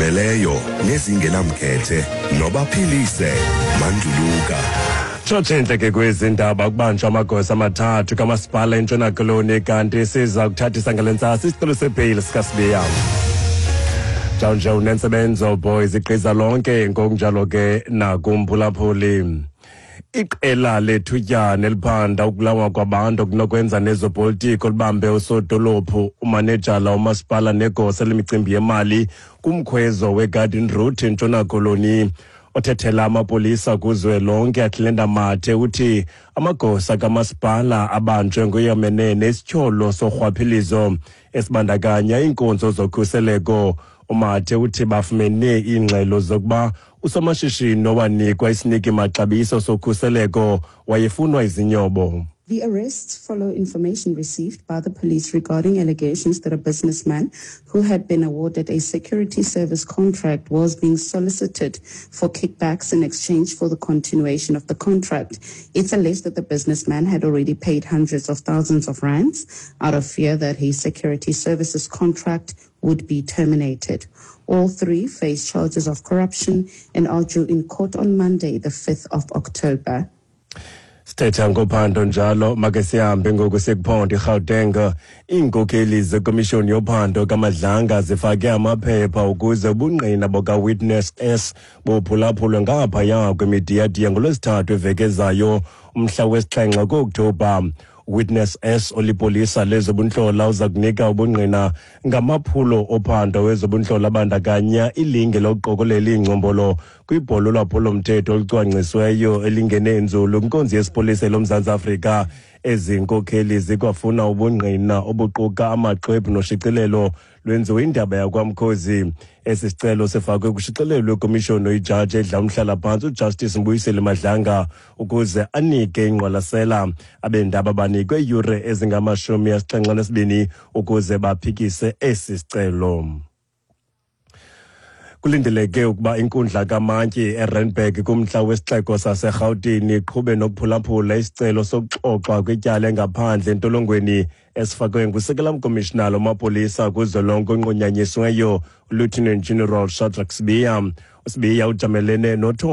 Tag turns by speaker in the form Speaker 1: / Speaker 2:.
Speaker 1: Ezizimeleyo nezingenamkhethe nobaphilise Manduluka.
Speaker 2: Tshotshe entle ke kwezi ndaba, kubanjwa amagosa amathathu kamasipala eNtshona Koloni, kanti siza kuthathisa ngale ntsasa isicelo sebheyili sikaSibiya. Njawunje unentsebenzo boys igqiza lonke, ngokunjalo ke nakumphulaphuli. Iqela lethutyana eliphanda ukulawa kwabantu okunokwenza nezopolitiko libambe usodolophu, umanejala womasipala negosa lemicimbi yemali kumkhwezo weGarden Route eNtshona Koloni. Othethela amapolisa kuzwelonke, Athlenda Mathe, uthi amagosa kamasipala abanjwe ngoyamenene nesityholo sorhwaphilizo esibandakanya iinkonzo zokhuseleko. UMathe uthi bafumene iingxelo zokuba usomashishini owanikwa isiniki maxabiso sokhuseleko wayefunwa izinyobo.
Speaker 3: The arrests follow information received by the police regarding allegations that a businessman who had been awarded a security service contract was being solicited for kickbacks in exchange for the continuation of the contract. It's alleged that the businessman had already paid hundreds of thousands of rands out of fear that his security services contract would be terminated. All three face charges of corruption and are due in court on Monday, the 5th of October.
Speaker 2: Sithetha ngophando njalo, make sihambe ngoku sekuphondo iGauteng. Iinkokeli zekomishoni yophando kaMadlanga zifake amaphepha ukuze ubungqina bukaWitness S buphulaphulwe ngaphaya kwemidiyadiya ngoLwesithathu eveki ezayo, umhla wesi-7 kuOkthobha. Witness S olipolisa lezobuntlola uza kunika ubungqina ngamaphulo ophando wezobunhlola abandakanya ilinge lokuqokolela iingcombolo kwibholo lwaphulomthetho olucwangcisweyo elingene nzulu kwinkonzo yesipolisa loMzantsi Afrika. Ezi nkokheli zikwafuna ubungqina obuquka amaxwebhu noshicilelo lwenziwe indaba yakwamkhozi. Esi sicelo sifakwe kushicilelo lwekomishoni oyijaji edla umhlalaphantsi uJustice Mbuyiseli Madlanga ukuze anike ingqwalasela. Abendaba banikwe iiyure ezingama-72 ukuze baphikise esi sicelo. Kulindeleke ukuba inkundla kamantyi eRandburg kumntla wesixeko saseRhawutini iqhube nokuphulaphula isicelo sokuxoxwa kwityala engaphandle entolongweni esifakwe ngusekela mkomishinala wamapolisa kuzwelonke onqunyanyisiweyo, uLieutenant General Shadrack Sibiya. USibiya ujamelene nothotho